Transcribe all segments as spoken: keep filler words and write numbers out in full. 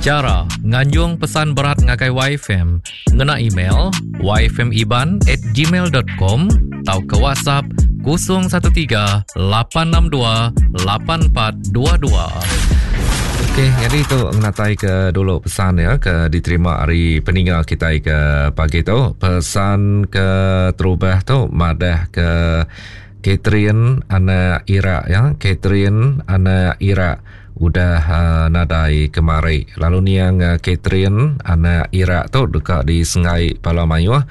Cara nganjung pesan berat ngagai Y F M ngena email y f m iban at gmail dot com atau ke WhatsApp kosong satu tiga lapan enam dua lapan empat dua dua. Okey, jadi tu ngatai ke dulu pesan ya ke diterima hari peninga kita ke pagi tu. Pesan ke terubah tu madah ke Catherine anak Irak ya, Catherine anak Irak udah uh, nadai kemari. Lalu niang uh, Catherine anak Irak tu dekat di Sengai Palamayuh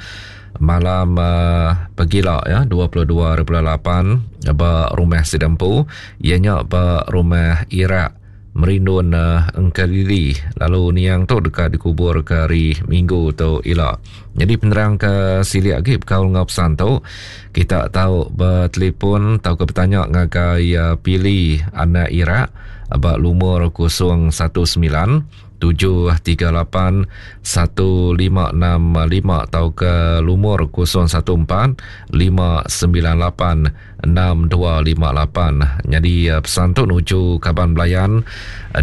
malam uh, pegila ya dua puluh dua bulan lapan ba rumah Sidempu, ianya ba rumah Irak Merindun uh, Engkelili. Lalu niang tu dekat dikubur ke hari Minggu tu ila. Jadi penerang ke silik lagi bekal ngau pesan tu, kita tahu bertelefon atau ke bertanya ngagai uh, Pili anak Irak ba lumur kosong satu sembilan tujuh tiga lapan satu lima enam lima atau ke lumur kosong satu empat lima sembilan lapan enam dua lima lapan. Jadi pesan tu nuju kaban belayan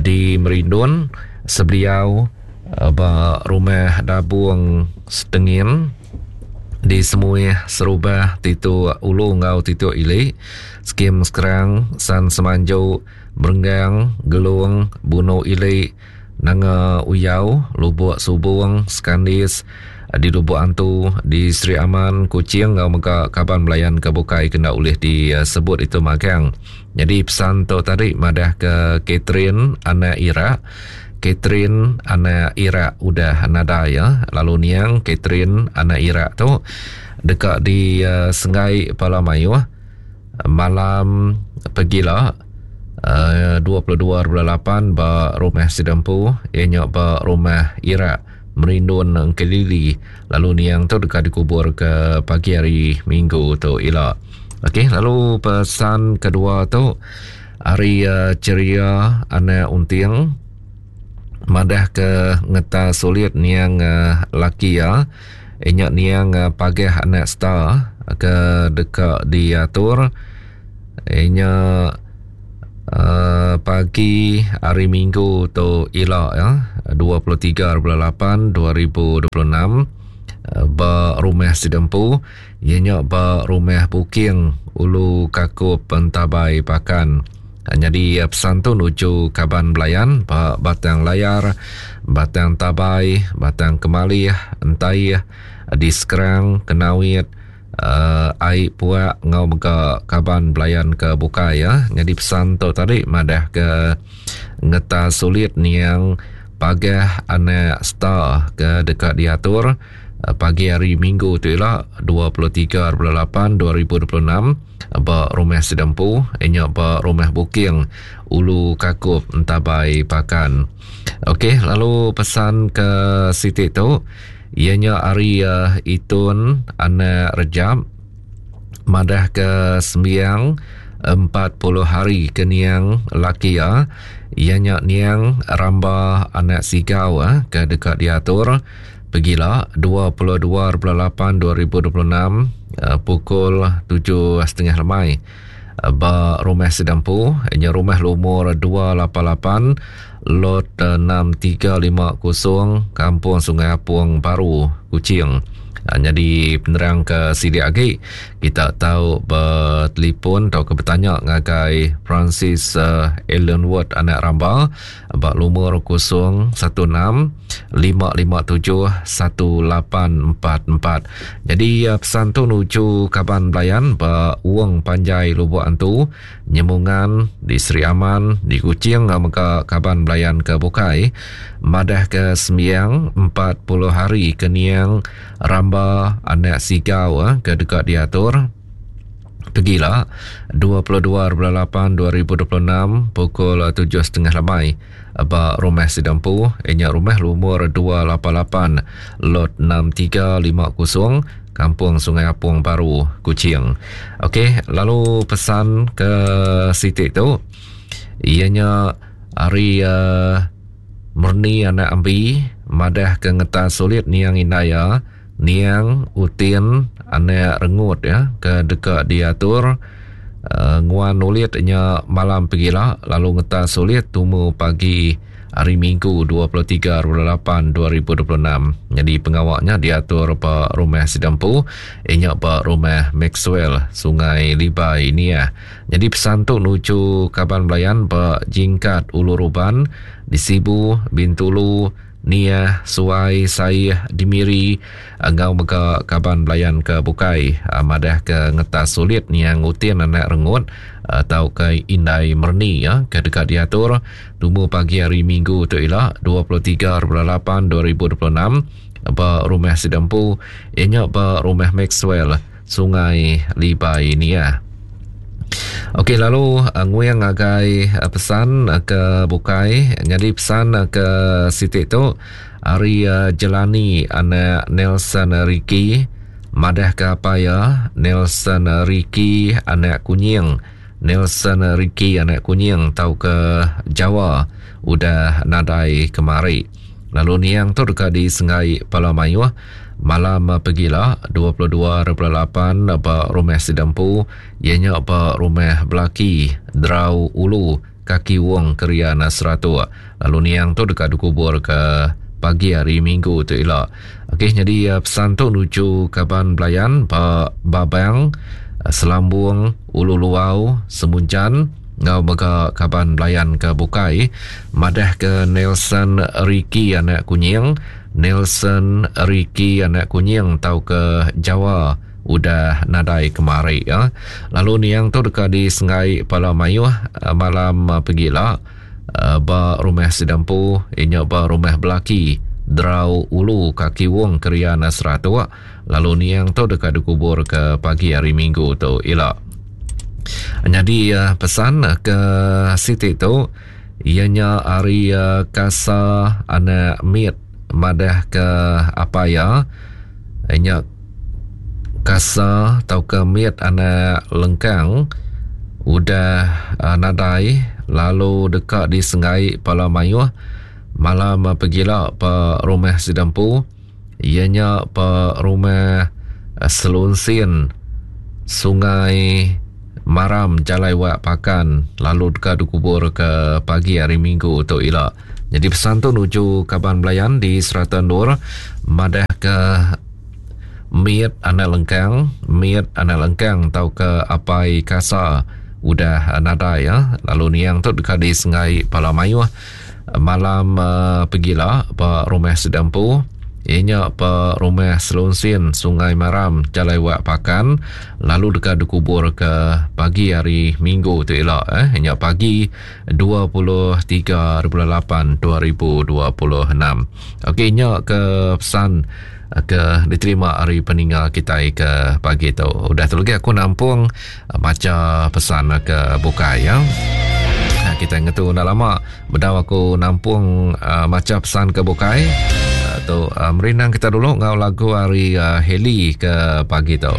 di Merindun sebeliau ba rumah Dabung Setengin di Semuih Serubah Titu Ulu ngau Titu Ili Skim Sekerang San Semanju Merenggang Gelung Buno Ili Nanga Uyau Lubuk Subung Skandis di Lubuk Antu di Sri Aman Kuching ngau mega kaban belayan ke bukai kena ulih disebut itu magang. Jadi pesan tu tadi madah ke Catherine anak Irak. Catherine anak Irak udah nadai ya. Lalu niang Catherine anak Irak tu dekat di uh, Sengai Palamayuh malam pegila uh, dua puluh dua bulan lapan ba rumah Sidempu ianya ba rumah Irak Merindun Engkelili. Lalu niang tu dekat dikubur ke pagi hari Minggu tu ila. Okey, lalu pesan kedua tu hari uh, ceria anak unting madah ke ngeta sulit niang uh, laki ya inyak niang uh, pagah anak star ke dekat diatur inyak uh, pagi hari Minggu tu ila ya dua puluh tiga bulan lapan dua ribu dua puluh enam uh, ba rumah Sidempu ianya ba rumah Buking Ulu Kakup Pentabai Pakan. Jadi pesan tu nuju kaban belayan ba Batang Layar, Batang Tabai, Batang Kemalih, Entaih, di Sekerang, Kenawit, uh, Aik Puak ngau mega kaban belayan ke bukai ya. Jadi pesan tu tadi madah ke ngeta sulit niang pagah anak star ke dekat diatur pagi hari Minggu tu ila dua puluh tiga bulan lapan dua ribu dua puluh enam ba rumah Sidempu inya ba rumah Buking Ulu Kakup Entabai Pakan. Okey, lalu pesan ke Siti tu ianya hari uh, Itun anak Rejab madah ke sembiang empat puluh hari ke niang laki ya ianya niang Ramba anak Sigau eh, ke dekat diatur pegila dua puluh dua bulan lapan dua ribu dua puluh enam uh, pukul tujuh setengah lemai uh, ba rumah Sidempu ianya rumah lumur dua lapan lapan lot enam tiga lima kosong Kampung Sungai Apung Baru Kuching. Jadi penerang ke sidik lagi kita tahu bertelefon atau ke bertanya ngagai Francis uh, Ellenwood anak Ramba bak lumur kosong satu enam lima lima tujuh satu lapan empat empat. Jadi uh, pesan tu nuju kaban belayan ba Uang Panjai Lubuk Antu Nyemungan di Sri Aman di Kuching mega kaban belayan ke bukai madah ke sembiang empat puluh hari ke niang Ramba anak Sigau eh, ke dekat diatur pergilah dua puluh dua bulan lapan dua ribu dua puluh enam pukul tujuh setengah lemai ba rumah Sidempu ianya rumah lumur dua lapan lapan lot enam tiga lima kosong Kampung Sungai Apung Baru Kuching. Okey, lalu pesan ke Siti tu ianya hari uh, Murni anak Ambi madah ke ngeta sulit niang Indaya niang Utin anak Rengut ya ke dekat diatur uh, nguan ulit nya malam pegila lalu ngeta sulit tumu pagi hari Minggu dua puluh tiga lapan dua ribu dua puluh enam. Jadi pengawaknya diatur ba rumah Sidampu, inya ba rumah Maxwell Sungai Libai ini ya. Jadi pesan tu nuju kaban belayan ba Jingkat Ulu Ruban di Sibu, Bintulu, Nia, Suai, Saih, Dimiri, engau mega kaban belayan ke bukai madah ke ngetas sulit niang utin anak rengut atau ke indai merni ya ke dekat diatur tumu pagi hari Minggu tu ila dua puluh tiga lapan dua ribu dua puluh enam ba rumah Sidampu ianya ba rumah Maxwell Sungai Libai ni ya. Okey, lalu nguing ngagai pesan ke bukai. Jadi pesan ke sitik tu hari Jelani anak Nelson Ricky madah ke apa ya Nelson Ricky anak kunying Nelson Ricky anak kunying tau ke Jawa udah nadai kemari. Lalu niang tu dekat di Sengai Palamayuh malam pegila dua puluh dua lapan ba rumah Sidampu ianya ba rumah Belaki Drau Ulu Kaki Wong Kerian Seratuk. Lalu niang tu dekat dikubur ke pagi hari Minggu tu ila. Okey, jadi pesan tu nuju kaban belayan ba Babang Selambung Ulu Luau Semunjan ngau mega kaban belayan ke bukai madah ke Nelson Ricky anak kunying Nelson Ricky anak kunying tau ke Jawa udah nadai kemari ya. Lalu niang tu dekat di Sengai Palamayuh malam pegila ba rumah Sidampu inya ba rumah Belaki Drau Ulu Kaki Wong Kerian Seratuk. Lalu niang tu dekat dikubur ke pagi hari Minggu tu ila. Jadi pesan ke Siti tu ianya hari Kasa anak Mit madah ke apa ya ianya Kasa tau ke Mit anak Lengkang udah nadai lalu dekat di Sengai Palamayuh malam pegila pe rumah Sidampu ianya pe rumah Selunsin Sungai Maram Jalai Wak Pakan lalu dekat dikubur ke pagi hari Minggu tu ila. Jadi pesan tu nuju kaban belayan di Serata Nur madah ke Mit anak Lengkang Mit anak Lengkang tau ke Apai Kasa udah nadai ya. Lalu niang tu dekat di Sengai Palamayuh malam uh, pegila ba rumah Sidampu ianya ba rumah Selunsin Sungai Maram Jalai Wak Pakan lalu dekat dikubur ke pagi hari Minggu tu ila eh ianya pagi dua puluh tiga lapan dua ribu dua puluh enam. Okey, ianya ke pesan ke diterima hari peninggal kita ke pagi tu. Udah tu lagi aku nampung baca pesan ke bukai ya. Nah, kita ngetu dah lama bedau aku nampung uh, baca pesan ke bukai. Uh, tu uh, merindang kita dulu ngau lagu hari uh, Heli ke pagi tu.